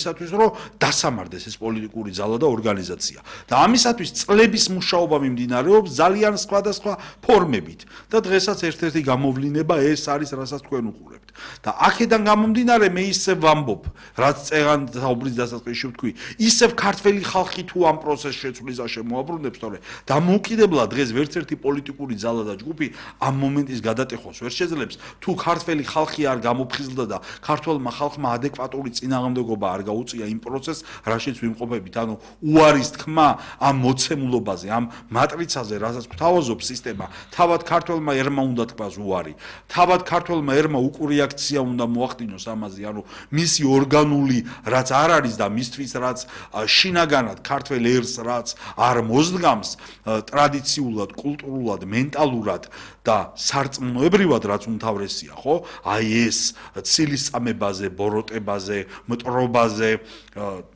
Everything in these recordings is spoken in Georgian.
ისათვის რომ დასამარდეს ეს პოლიტიკური ძალა და ორგანიზაცია და ამისათვის წლების მუშაობა მიმდინარეობს ძალიან სხვადასხვა ფორმებით და დღესაც ერთ-ერთი გამოვლინება ეს არის რასაც თქვენ უყურებთ და აქედან გამომდინარე მე ისევ ვამბობ რაც წეღან საუბრის დასაწყისში ვთქვი ისევ ქართველი ხალხი თუ ამ პროცესს შეცვლისა შემოაბრუნებს თორე დამოუკიდებლად დღეს ვერცერთი პოლიტიკური ძალა და ჯგუფი ამ მომენტის გადატეხვას ვერ შეძლებს თუ ქართველი ხალხი არ გამოფხიზლდა და ქართველმა ხალხმა ადეკვატური წინააღმდეგობა არ გაუწია იმ პროცესს, რაშიც ვიმყოფებით, ანუ უარის თქმა ამ მოცემულობაზე, ამ მატრიცაზე, რასაც გვთავაზობს სისტემა, თავად ქართველმა ერმა უნდა თქვას უარი. თავად ქართველმა ერმა უკურეაქცია უნდა მოახდინოს ამაზე, ანუ მისი ორგანული რაც არ არის და მისთვის რაც შინაგანად ქართველ ერს რაც არ მოძგამს ტრადიციულად, კულტურულად, მენტალურად და სარწმუნოებრივად რაც უმთავრესია, ხო? აი ეს ცილისწამებაზე, ბოროტებაზე, მტრობაზე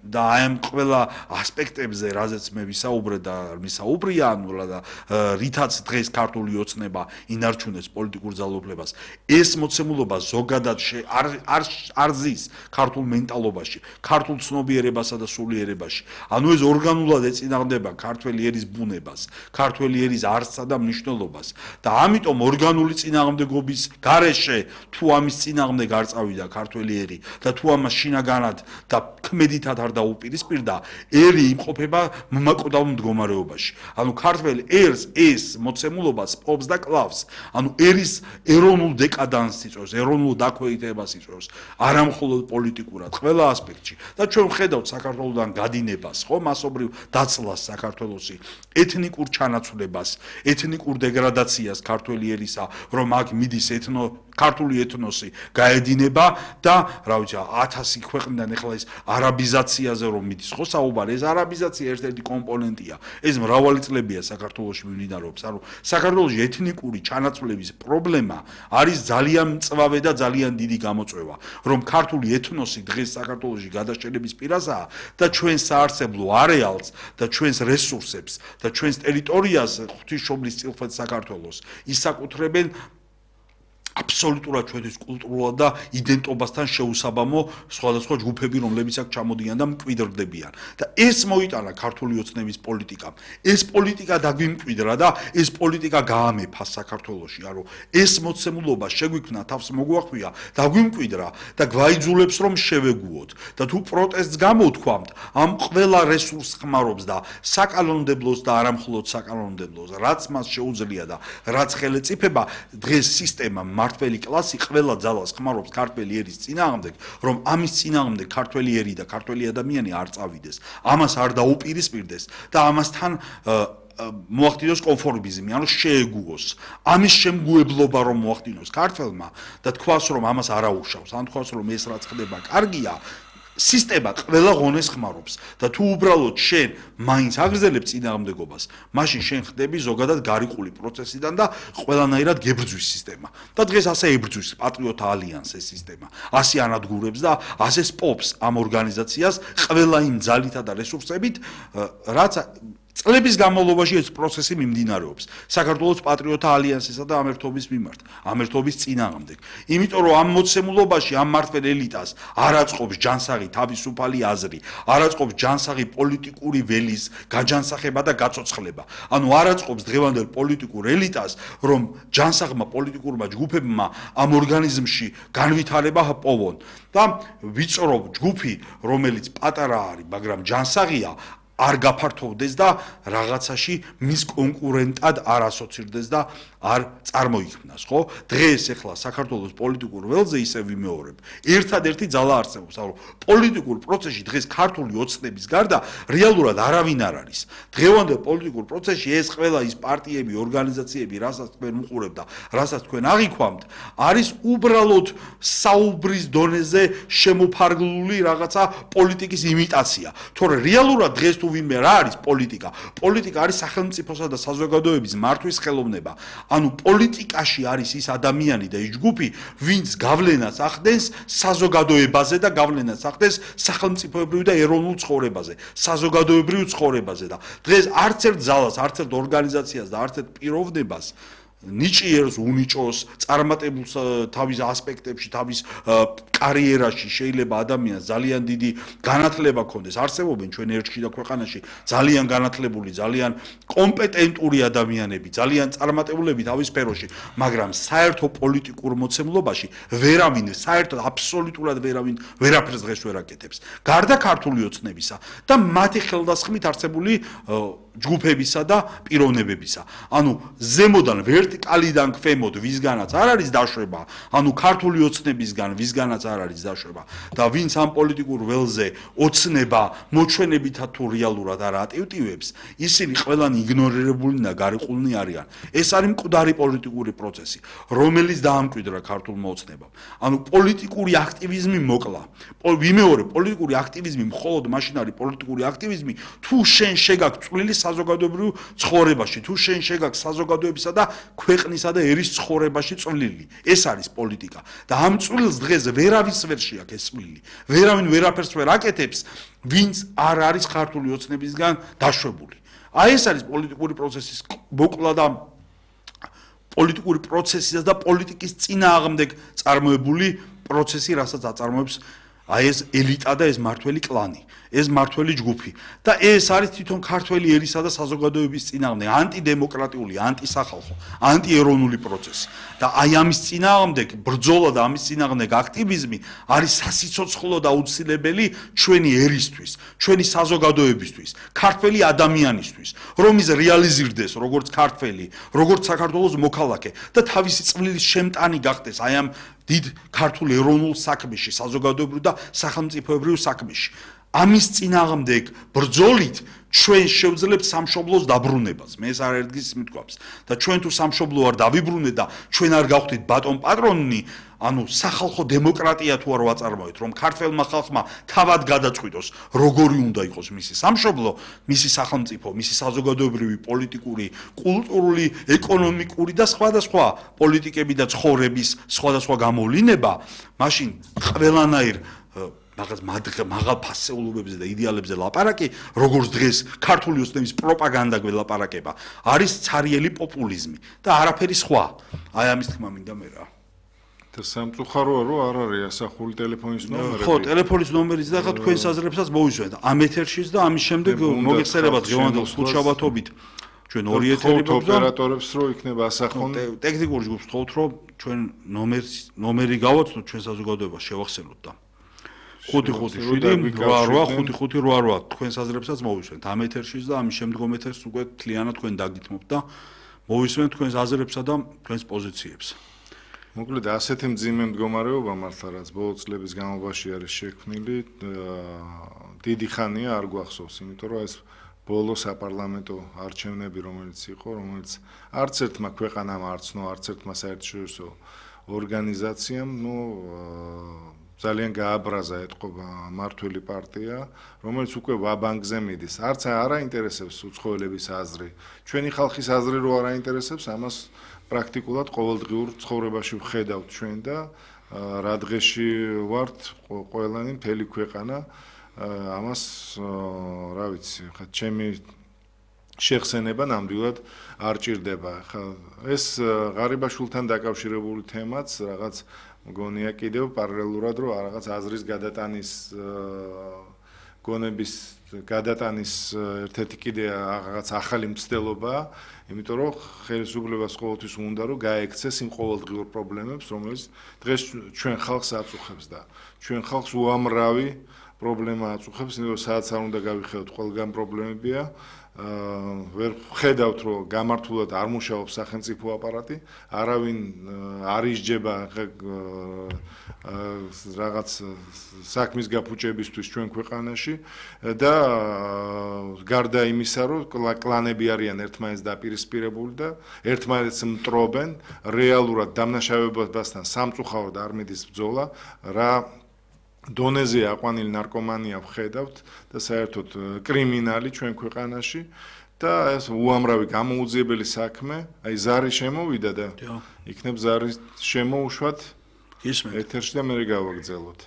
და აი ამ ყველა ასპექტებზე, რაზეც მე ვისაუბრე და მისაუბრია, ანუ და რითაც დღეს ქართული ოცნება ინარჩუნებს პოლიტიკურ ძალაუფლებას. ეს მოცემულობა ზოგადად არ ზის ქართულ მენტალობაში, ქართულ ცნობიერებასა და სულიერებაში. ანუ ეს ორგანულად ეწინააღმდება ქართველი ერის ბუნებას, ქართველი ერის არსსა და მნიშვნელობას და ამიტომ ორგანული წინააღმდეგობის გარეშე თუ ამის წინააღმდეგ არ წავიდა ქართველი ერი და თუ ამას შინაგანად და ქმედითად არ დაუპირისპირდა, ერი იმყოფება მომაკვდავ მდგომარეობაში. ანუ ქართველ ერს ეს მოცემულობა სპობს და კლავს. ანუ ერის ეროვნულ დეკადანსს იწვევს, ეროვნულ დაქვეითებას იწვევს, არა მხოლოდ პოლიტიკურად, ყველა ასპექტში. და ჩვენ ვხედავთ საქართველოსთან გადინებას, ხო, მასობრივ დაცლას საქართველოსი, ეთნიკურ ჩანაცვლებას, ეთნიკურ დეგრადაციას ქართველი ერისა, რომ აქ მიდის ქართული ეთნოსი გაედინება და რა ვიცი 1000 ქვეყნიდან ეხლა ეს არაბიზაციაზე რომ მიდის ხო საუბარი ეს არაბიზაცია ერთ-ერთი კომპონენტია ეს მრავალი წლებია საქართველოში მიმდინარეობს ანუ საქართველოში ეთნიკური ჩანაცვლების პრობლემა არის ძალიან მწვავე და ძალიან დიდი გამოწვევა რომ ქართული ეთნოსი დღეს საქართველოში გადაშენების პირასაა და ჩვენ საარსებლო არეალს და ჩვენს რესურსებს და ჩვენს ტერიტორიას ღვთისმშობლის წილხვედ საქართველოს ისაკუთრებენ აბსოლუტურად ჩვენთვის კულტურულად და იდენტობასთან შეუსაბამო სხვადასხვა ჯგუფები, რომლებიც აქ ჩამოდიან და მკვიდრდებიან. და ეს მოიტანა ქართული ოცნების პოლიტიკამ. ეს პოლიტიკა დაგვიმკვიდრა და ეს პოლიტიკა გაამეფა საქართველოში. ანუ ეს მოცემულობა შეგვიქმნა თავს მოგვახვია, დაგვიმკვიდრა და გვაიძულებს რომ შევეგუოთ. და თუ პროტესტს გამოვთქვამთ, ამ ყველა რესურსს ხმარობს და საკანონმდებლოს და არამხოლოდ საკანონმდებლოს, რაც მას შეუძლია და რაც ხელეწიფება დღეს სისტემა მართველი კლასი ყველა ძალას ხმარობს ქართველი ერის წინააღმდეგ, რომ ამის წინააღმდეგ ქართველი ერი და ქართველი ადამიანი არ წავიდეს, ამას არ დაუპირისპირდეს და ამასთან მოახდინოს კონფორმიზმი, ანუ შეეგუოს. ამის შემგუებლობა რომ მოახდინოს ქართველმა და თქვას რომ ამას არ აუშავს, ან თქვას რომ ეს რაც ხდება კარგია, სისტემა ყველა ღონეს ხმარობს და თუ უბრალოდ შენ მაინც აგრძელებ წინააღმდეგობას, მაშინ შენ ხდები ზოგადად გარიყული პროცესიდან და ყველანაირად გებრძვის სისტემა. და დღეს ასე ებრძვის პატრიოტთა ალიანსის სისტემა. ასე ანადგურებს და ასე სპობს ამ ორგანიზაციას ყველა იმ ძალითა და რესურსებით, რაც წლების განმავლობაში ეს პროცესი მიმდინარეობს საქართველოს პატრიოტთა ალიანსისა და ამერთობის მიმართ, ამერთობის წინააღმდეგ. იმიტომ რომ ამ მოცემულობაში ამ მართლ ელიტას არ აწყობს ჯანსაღი თავისუფალი აზრი, არ აწყობს ჯანსაღი პოლიტიკური ველის გაჯანსაღება და გაცოცხლება. ანუ არ აწყობს დღევანდელ პოლიტიკურ ელიტას, რომ ჯანსაღმა პოლიტიკურმა ჯგუფებმა ამ ორგანიზმში განვითარება პოვონ და ვიწრო ჯგუფი, რომელიც პატარა არის, მაგრამ ჯანსაღია, არ გაფართოვდეს და რაღაცაში მის კონკურენტად არ ასოცირდეს და არ წარმოიქმნას, ხო? დღეს ახლა საქართველოს პოლიტიკურ ველზე ისე ვიმეორებ. ერთადერთი ძალა არსებობს, ანუ პოლიტიკურ პროცესში დღეს ქართული ოცნების გარდა რეალურად არავინ არ არის. დღევანდელ პოლიტიკურ პროცესში ეს ყველა ის პარტიები, ორგანიზაციები, რასაც თქვენ უყურებთ და რასაც თქვენ აღიქვამთ, არის უბრალოდ საუბრის დონეზე შემოფარგლული რაღაცა პოლიტიკის იმიტაცია. თორე რეალურად დღეს თუ ვინმე რა არის პოლიტიკა? პოლიტიკა არის სახელმწიფოსა და საზოგადოების მართვის ხელოვნება. ანუ პოლიტიკაში არის ის ადამიანი და ის ჯგუფი, ვინც გავლენას ახდენს საზოგადოებაზე და გავლენას ახდენს სახელმწიფოებრივ და ეროვნულ ცხოვრებაზე, საზოგადოებრივ ცხოვრებაზე და დღეს არც ერთ ძალას, არც ერთ ორგანიზაციას და არც ერთ პიროვნებას ნიჭიერს, უნიჭოს, წარმატებულს თავის ასპექტებში, თავის კარიერაში შეიძლება ადამიანს ძალიან დიდი განათლება ჰქონდეს. არსებობენ ჩვენ ერთში და ქვეყანაში ძალიან განათლებული, ძალიან კომპეტენტური ადამიანები, ძალიან წარმატებულები თავის სფეროში, მაგრამ საერთო პოლიტიკურ მოცემულობაში ვერავინ, საერთოდ აბსოლუტურად ვერავინ ვერაფერს დღეს ვერ აკეთებს. გარდა ქართული ოცნებისა და მათი ხელდასხმით არსებული ჯგუფებისა და პიროვნებებისა. ანუ ზემოდან ვერტიკალიდან ქვემოთ ვისგანაც არ არის დაშვება, ანუ ქართული ოცნებისგან ვისგანაც არ არის დაშვება და ვინც ამ პოლიტიკურ ველზე ოცნება მოჩვენებითა თუ რეალურად არ ატივტივებს, ისინი ყველანი იგნორირებულნი და გარიყულნი არიან. ეს არის მკვდარი პოლიტიკური პროცესი, რომელიც დაამკვიდრა ქართულმა ოცნებამ. ანუ პოლიტიკური აქტივიზმი მოკლა. ვიმეორებ, პოლიტიკური აქტივიზმი მხოლოდ მაშინ არის პოლიტიკური აქტივიზმი, თუ შენ შეგაქვს წვლილი საზოგადოებრივ ცხოვრებაში, თუ შენ შეგაქვს საზოგადოებისა და ქვეყნისა და ერის ცხოვრებაში წვლილი. ეს არის პოლიტიკა. და ამ წვლილს დღეს ვერავის ვერ შეაქვს ეს წვლილი. ვერავინ ვერაფერს ვერ აკეთებს, ვინც არ არის ქართული ოცნებისგან დაშვებული. აი ეს არის პოლიტიკური პროცესის მოკლა და პოლიტიკური პროცესის და პოლიტიკის წინააღმდეგ წარმოებული პროცესი, რასაც აწარმოებს აი ეს ელიტა და ეს მართველი კლანი, ეს მართველი ჯგუფი და ეს არის თვითონ ქართველი ერისა და საზოგადოების წინააღმდეგ ანტიდემოკრატიული, ანტისახალხო, ანტიეროვნული პროცესი. და აი ამის წინააღმდეგ ბრძოლა და ამის წინააღმდეგ აქტივიზმი არის სასიცოცხლო და აუცილებელი ჩვენი ერისთვის, ჩვენი საზოგადოებისთვის, ქართველი ადამიანისთვის, რომ ის რეალიზირდეს როგორც ქართველი, როგორც საქართველოს მოქალაქე და თავისი წვლილის შემტანი გახდეს აი ამ დიდ ქართულ ეროვნულ საქმეში, საზოგადოებრივ და სახელმწიფოებრივ საქმეში. ამის წინააღმდეგ ბრძოლით ჩვენ შევძლებთ სამშობლოს დაბრუნებას. მე ეს არერდგის მithქვავს და ჩვენ თუ სამშობლო არ დავიბრუნეთ და ჩვენ არ გავხდით ბატონ პატრონი, ანუ სახალხო დემოკრატია თუ არ ვაწარმოეთ, რომ ქართველმა ხალხმა თავად გადაწყვიტოს, როგორი უნდა იყოს მისი სამშობლო, მისი სახელმწიფო, მისი საზოგადოებრივი, პოლიტიკური, კულტურული, ეკონომიკური და სხვადასხვა პოლიტიკები და ცხოვრების სხვადასხვა გამოვლინება, მაშინ ყველანაირ მაღალ ფასეულობებზე და იდეალებზე ლაპარაკი, როგორც დღეს ქართული ოცნების პროპაგანდა გველაპარაკება, არის ცარიელი პოპულიზმი და არაფერი სხვა. აი ამის თქმა მინდა მე რა. და სამწუხაროა რომ არ არის ასახული ტელეფონის ნომერი. ხო, ტელეფონის ნომერიც და თქვენ საზრებსაც მოვისვენთ. ამ ეთერშიც და ამის შემდეგ მოგეხსენებათ გეომანდელ ხუთშაბათობით. ჩვენ ორი ეთერი გვაქვს და ოპერატორებს რო იქნება ასახონ. ტექნიკურ ჯგუფს თხოვთ რომ ჩვენ ნომერი გავაცნოთ ჩვენ საზოგადოებას შევახსენოთ და 5-5-7 8-5-8-8 თქვენ საზრებსაც მოვისვენთ ამ ეთერშიც და ამის შემდგომ ეთერს უკვე თლიანად თქვენ დაგითმობთ და მოვისვენთ თქვენს აზრებსა და თქვენს პოზიციებს. მოკლედ ასეთი მძიმე მდგომარეობა მართლა რაც ბოლო წლების განმავლობაში არის შექმნილი, დიდი ხანია არ გვახსოვს, იმიტომ რომ ეს ბოლო საპარლამენტო არჩევნები რომელიც იყო, რომელიც არც ერთმა ქვეყანამ არ ცნო, არც ერთმა საერთაშორისო ორგანიზაციამ, ძალიან გააბრაზა ეთყობა მართველი პარტია, რომელიც უკვე ვაბანკზე მიდის. არც არ აინტერესებს უცხოელების აზრი. ჩვენი ხალხის აზრი რო არ აინტერესებს, ამას პრაქტიკულად ყოველდღიურ ცხოვრებაში ვხედავთ ჩვენ და რა დღეში ვართ ყველანი მთელი ქვეყანა ამას რა ვიცი, ხა ჩემი შეხსენება ნამდვილად არ ჭირდება. ხა ეს ღარიბაშვილთან დაკავშირებული თემაც რაღაც მგონია კიდევ პარალელურად რომ რაღაც აზრის გადატანის გონების გადატანის ერთ-ერთი კიდე რაღაც ახალი მცდელობაა, იმიტომ რომ ხელისუფლებას ყოველთვის უნდა რომ გაექცეს იმ ყოველდღიურ პრობლემებს, რომელიც დღეს ჩვენ ხალხს აწუხებს და ჩვენ ხალხს უამრავი პრობლემა აწუხებს, იმიტომ რომ სადაც არ უნდა გავიხედოთ, ყველგან პრობლემებია. ვერ ხედავთ რომ გამართულად არ მუშაობს სახელმწიფო აპარატი, არავინ არ ისჯება რაღაც საქმის გაფუჭებისთვის ჩვენ ქვეყანაში და გარდა იმისა რომ კლანები არიან ერთმანეთს დაპირისპირებული და ერთმანეთს მტრობენ, რეალურად დამნაშავებასთან სამწუხაროდ არ მიდის ბრძოლა, რა დონეზე აყვანილი ნარკომანია ვხედავთ და საერთოდ კრიმინალი ჩვენ ქვეყანაში და ეს უამრავი გამოუძიებელი საქმე, აი ზარი შემოვიდა და იქნებ ზარის შემოუშვათ ეთერში და მე გავაგრძელოთ.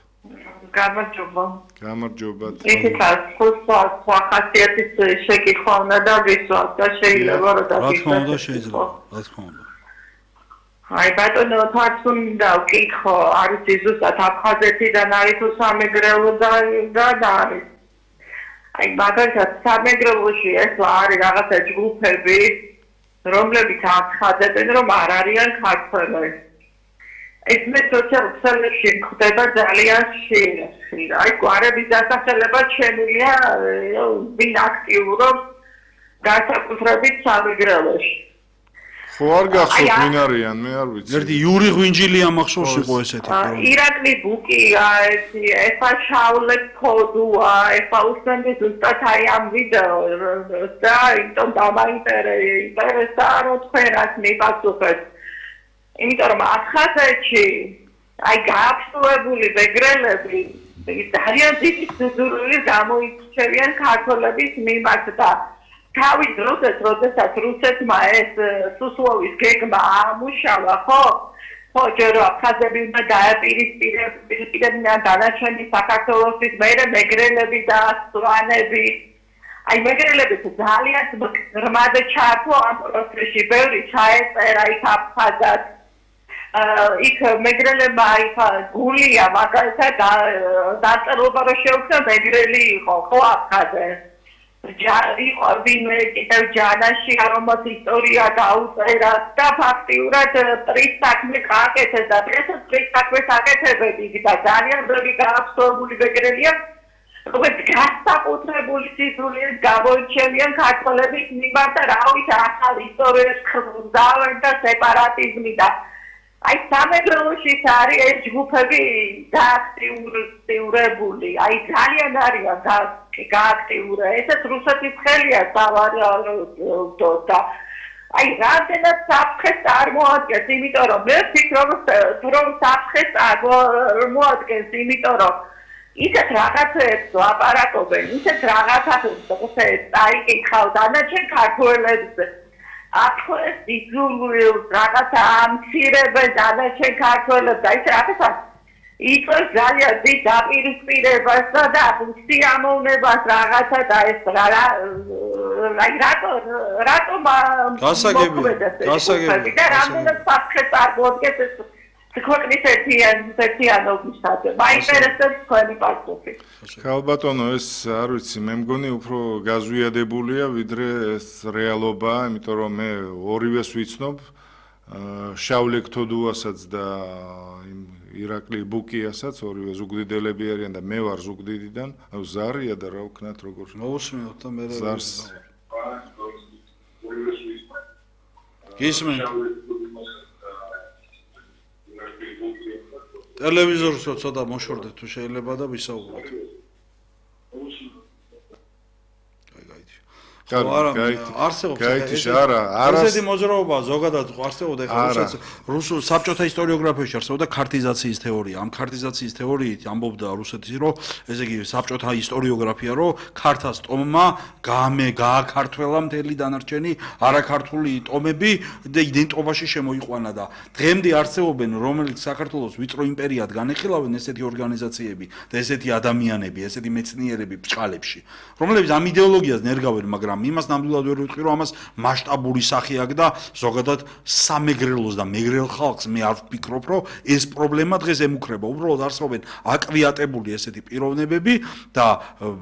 გამარჯობა. გამარჯობა. ეხლა სხვა ხასიათის შეკითხვა უნდა დავისვათ და შეიძლება რომ რა თქმა უნდა შეიძლება, რა თქმა უნდა. აი ბატონო თავს უნდა ვკითხო, არის ზუსტად აფხაზეთიდან არის თუ სამეგრელოდან არის. აი მაგალითად სამეგრელოში ეს არის რაღაცა ჯგუფები, რომლებიც აცხადებენ, რომ არ არიან ქართველები. ეს მე სოციალურ ხდება ძალიან ხშირად. აი გვარების დასახელება შემილია ვინ აქტიურობს განსაკუთრებით სამეგრელოში. ხო არ გახსოვთ ვინ არიან, მე არ ვიცი. ერთი იური ღვინჯილი ამახსოვს იყო ესეთი. ირაკლი ბუკია, ესა შავლე კოდუა, ესა უსმენდი ზუსტად აი ამ ვიდეოს და იმიტომ დამაინტერესა რომ თქვენაც მიპასუხეთ. იმიტომ რომ ახაზეთში აი გააფსულებული მეგრელები ძალიან დიდი სიზურული გამოირჩევიან ქართველების მიმართ და თავის დროსაც, როდესაც რუსეთმა ეს სუსლოვის გეგმა ამუშავა, ხო, ჯერ აფხაზები უნდა დაეპირისპირებინან დანარჩენი საქართველოსის მერე მეგრელები და სვანები. აი მეგრელებიც ძალიან ღრმად ჩართო ამ პროცესში, ბევრი ჩაეწერა იქ აფხაზად. იქ მეგრელებმა იქ გულია მაგალითად დაწერილობა რომ შეუქმნა მეგრელი იყო, ხო აფხაზე. იყო ვინმე კიდევ ჯანაში რომაც ისტორია დაუწერა და ფაქტიურად პრის საქმე გააკეთეს და დღესაც პრის საქმეს აკეთებენ და ძალიან ბევრი გააფსოვებული მეგრელია როგორც განსაკუთრებული სიზრულით გამოირჩევიან ქართველების მიმართ და რა ვიცი ახალ ისტორიას ხმძავენ და სეპარატიზმი და აი სამეგრელოში არის ეს ჯგუფები გააქტიურებული აი ძალიან არიან გააქტიურა ესეც რუსეთის ხელია სავარაუდო და აი რამდენად საფრთხეს წარმოადგენს იმიტომ რომ მე ვფიქრობ რომ საფრთხეს წარმოადგენს იმიტომ რომ ისეთ რაღაცებს ლაპარაკობენ ისეთ რაღაცებს წაიკითხავ დანარჩენ ქართველებს აფხაზ ისულვილ რაღაცა ამცირებენ დანარჩენ ქართველებს და ის რაღაცა იწვევს ძალიან დიდ დაპირისპირებას და სიამოვნებას რაღაცა და ეს რატომ გასაგებია და რამდენად საფრთხეს წარმოადგენს ეს ქვეყნის ერთიანობისათვის. მაინტერესებს თქვენი პასუხი. ხალბატონო, ეს არ ვიცი, მე მგონი უფრო გაზვიადებულია, ვიდრე ეს რეალობაა, იმიტომ რომ მე ორივეს ვიცნობ, შავლე ქთოდუასაც და ირაკლი ბუკიასაც, ორივე ზუგდიდელები არიან და მე ვარ ზუგდიდიდან, ზარია და რა ვქნათ როგორ მოусმენთ და მე ზარს გისმენთ ტელევიზორს ცოტა მოშორდეთ თუ შეიძლება და ვისაუბროთ. არსებობს ესეთი მოძრაობა ზოგადად არსებობდა ეხლა რუსულ საბჭოთა ისტორიოგრაფიაში არსებობდა ქართიზაციის თეორია. ამ ქართიზაციის თეორიით ამბობდა რუსეთის რომ ესე იგი საბჭოთა ისტორიოგრაფია რომ ქართას ტომმა გააქართველა მთელი დანარჩენი არაქართული ტომები და იდენტობაში შემოიყვანა და დღემდე არსებობენ რომელიც საქართველოს ვიწრო იმპერიად განეხილავენ ესეთი ორგანიზაციები და ესეთი ადამიანები, ესეთი მეცნიერები ბჭყალებში, რომლებიც ამ იდეოლოგიას ნერგავენ, მაგრამ იმას ნამდვილად ვერ ვიტყვი რომ ამას მასშტაბური სახე აქვს და ზოგადად სამეგრელოს და მეგრელ ხალხს მე არ ვფიქრობ რომ ეს პრობლემა დღეს ემუქრება. უბრალოდ არსებობენ აკვიატებული ესეთი პიროვნებები და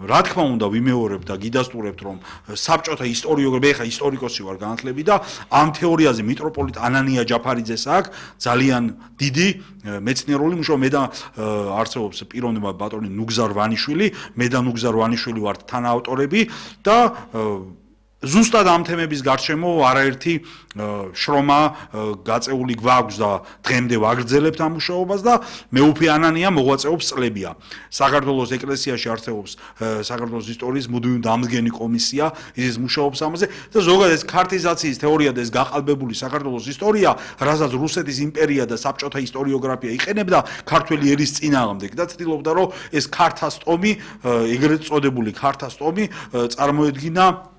რა თქმა უნდა ვიმეორებ და გიდასტურებთ რომ საბჭოთა ისტორიოგრაფია ეხა ისტორიკოსი ვარ განათლები და ამ თეორიაზე მიტროპოლიტ ანანია ჯაფარიძეს აქვს ძალიან დიდი მეცნიერული მუშაობა. მე და არსებობს პიროვნება ბატონი ნუგზარ ვანიშვილი, მე და ნუგზარ ვანიშვილი ვართ თანაავტორები და ზუსტად ამ თემების გარშემო არაერთი შრომა გაწეული გვაქვს და დღემდე ვაგრძელებთ ამ მუშაობას და მეუფე ანანია მოღვაწეობს წლებია. საქართველოს ეკლესიაში არსებობს საქართველოს ისტორიის მუდმივი დამდგენი კომისია, ის მუშაობს ამაზე და ზოგადად ეს ქართიზაციის თეორია და ეს გაყალბებული საქართველოს ისტორია, რასაც რუსეთის იმპერია და საბჭოთა ისტორიოგრაფია იყენებდა ქართველი ერის წინააღმდეგ და ცდილობდა რომ ეს ქართას ტომი, ეგრეთ წოდებული ქართას ტომი წარმოედგინა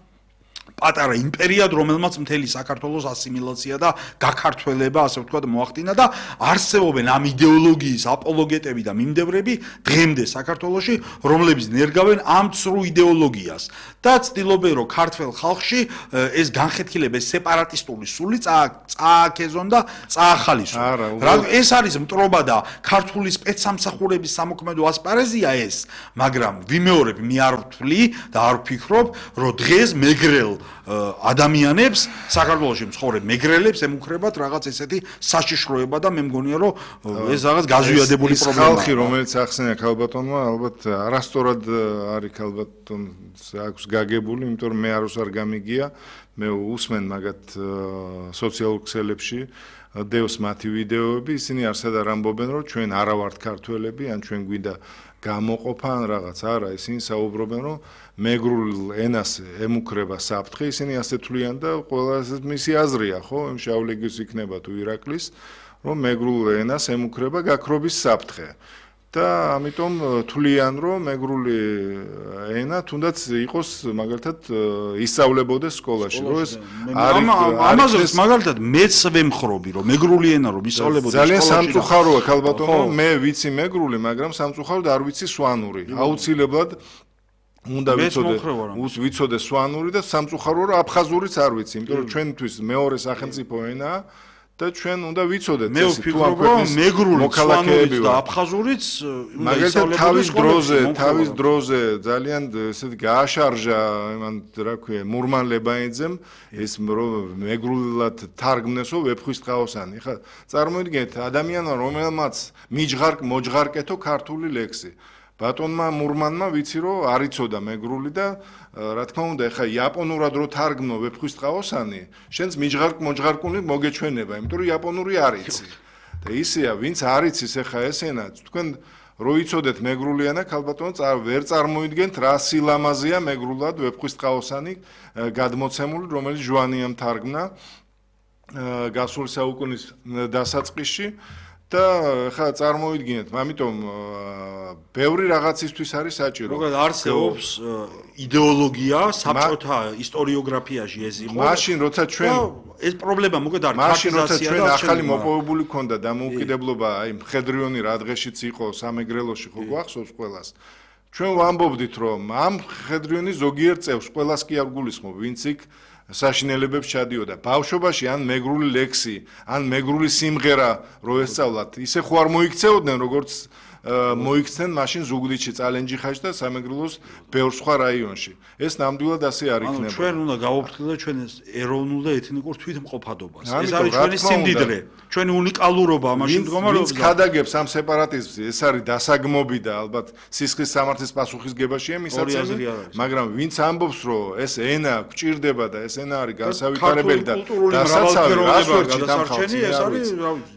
პატარა იმპერიად, რომელმაც მთელი საქართველოს ასიმილაცია და გაქართველება, ასე ვთქვათ, მოახდინა და არსებობენ ამ იდეოლოგიის აპოლოგეტები და მიმდევრები დღემდე საქართველოში, რომლებიც ნერგავენ ამ ცრუ იდეოლოგიას და ცდილობენ, რომ ქართველ ხალხში ეს განხეთქილება, ეს სეპარატისტული სული წააქეზონ და წაახალისონ. ეს არის მტრობა და ქართული სპეცსამსახურების სამოქმედო ასპარეზია ეს, მაგრამ ვიმეორებ, მე არ ვთვლი და არ ვფიქრობ, რომ დღეს მეგრელ ადამიანებს, საქართველოში მცხოვრებ მეგრელებს ემუქრებათ რაღაც ესეთი საშიშროება და მე მგონია, რომ ეს რაღაც გაზვიადებული პრობლემაა. ხალხი, რომელიც ახსენია ქალბატონმა, ალბათ არასწორად არის ქალბატონს აქვს გაგებული, იმიტომ რომ მე არ გამიგია, მე უსმენ მაგათ სოციალურ ქსელებში დევს მათი ვიდეოები, ისინი არსად არ ამბობენ, რომ ჩვენ არა ვართ ქართველები, ან ჩვენ გვინდა გამოყოფა ან რაღაც, არა, ისინი საუბრობენ, რომ მეგრულ ენას ემუქრება საფრთხე, ისინი ასე თვლიან და ყველაზე მისი აზრია, ხო, იმ შავლეგის იქნება თუ ირაკლის, რომ მეგრულ ენას ემუქრება გაქრობის საფრთხე. და ამიტომ თვლიან, რომ მეგრული ენა თუნდაც იყოს მაგალითად ისწავლებოდეს სკოლაში, რომ ეს ამაზეც მაგალითად მეც ვემხრობი, რომ მეგრული ენა რომ ისწავლებოდეს სკოლაში. ძალიან სამწუხაროა ქალბატონო, მე ვიცი მეგრული, მაგრამ სამწუხაროდ არ ვიცი სვანური. აუცილებლად უნდა ვიცოდე სვანური და სამწუხაროა, რომ აფხაზურიც არ ვიცი, იმიტომ რომ ჩვენთვის მეორე სახელმწიფო ენაა. და ჩვენ უნდა ვიცოდეთ ეს თუ ამ ქვეყნის მოქალაქეები და აფხაზურიც მაგალითად თავის დროზე ძალიან ესეთ გააშარჟა იმან რა ქვია მურმან ლებაიძემ ეს მეგრულად თარგმნესო ვეფხვისტყაოსანი ხა წარმოიდგინეთ ადამიანმა რომელმაც მოჯღარკეთო ქართული ლექსი ბატონმა მურმანმა ვიცი რომ არ იცოდა მეგრული და რა თქმა უნდა ეხა იაპონურად რო თარგმნო ვეფხვისტყაოსანი შენს მოჯღარკუნი მოგეჩვენება იმიტომ რომ იაპონური არ იცი და ისეა ვინც არ იცის ეხა ეს ენა თქვენ რო იცოდეთ მეგრული ენა ქალბატონო ვერ წარმოიდგენთ რა სილამაზეა მეგრულად ვეფხვისტყაოსანი გადმოცემული რომელიც ჟვანიამ თარგმნა გასული საუკუნის დასაწყისში და ხა წარმოიდგინეთ, ამიტომ ბევრი რაღაცისთვის არის საჭირო. როგორ არსებობს იდეოლოგია საბჭოთა ისტორიოგრაფიაში ეს იყო. მაშინ როცა ჩვენ ეს პრობლემა მოგეთ არის მაშინ როცა ჩვენ ახალი მოპოვებული ქონდა დამოუკიდებლობა, აი მხედრიონი რა დღეშიც იყო სამეგრელოში ხო გვახსოვს ყველას. ჩვენ ვამბობდით რომ ამ მხედრიონის ზოგიერთ წევს ყველას კი არ გულისხმობ, ვინც იქ საშინელებებს ჩადიოდა. ბავშვობაში ან მეგრული ლექსი, ან მეგრული სიმღერა რო ესწავლათ, ისე ხო არ მოიქცეოდნენ, როგორც მოიქცნენ მაშინ ზუგდიდში, წალენჯიხაში და სამეგრელოს ბევრ სხვა რაიონში. ეს ნამდვილად ასე არ იქნება. ჩვენ უნდა გავაფრთხილოთ ჩვენ ეროვნულ და ეთნიკურ თვითმყოფადობას. ეს არის ჩვენი სიმდიდრე, ჩვენი უნიკალურობა ამაში მდგომარეობს. ვინც ხადაგებს ამ სეპარატიზმს, ეს არის დასაგმობი და ალბათ სისხლის სამართლის პასუხისგებაშია მისაწევი, მაგრამ ვინც ამბობს, რომ ეს ენა გვჭირდება და ეს ენა არის განსავითარებელი და დასაცავი, რას ვერჩით ამ ხალხს?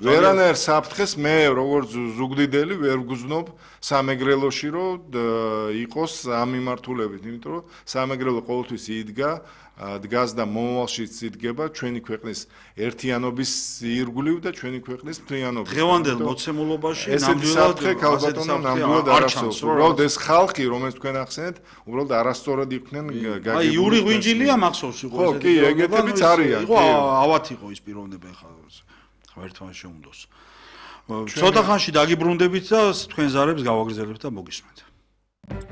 ვერანაირ საფრთხეს მე როგორც ზუგდიდელი ვერ გზნობ სამეგრელოში რომ იყოს ამ მიმართულებით, იმიტომ რომ სამეგრელო ყოველთვის იდგა, დგას და მომავალშიც იდგება ჩვენი ქვეყნის ერთიანობის ირგვლივ და ჩვენი ქვეყნის მთლიანობის. დღევანდელ მოცემულობაში ნამდვილად არასწორია. უბრალოდ ეს ხალხი, რომელიც თქვენ ახსენეთ, უბრალოდ არასწორად იყვნენ გაგებული. აი იური ღვინჯილია მახსოვს იყო ეს. ხო, კი, ეგეთებიც არიან. იყო ავათ იყო ის პიროვნება ხა ერთმანეთს შეუნდოს. ცოტა ხანში დაგიბრუნდებით და თქვენ ზარებს გავაგრძელებთ და მოგისმენთ.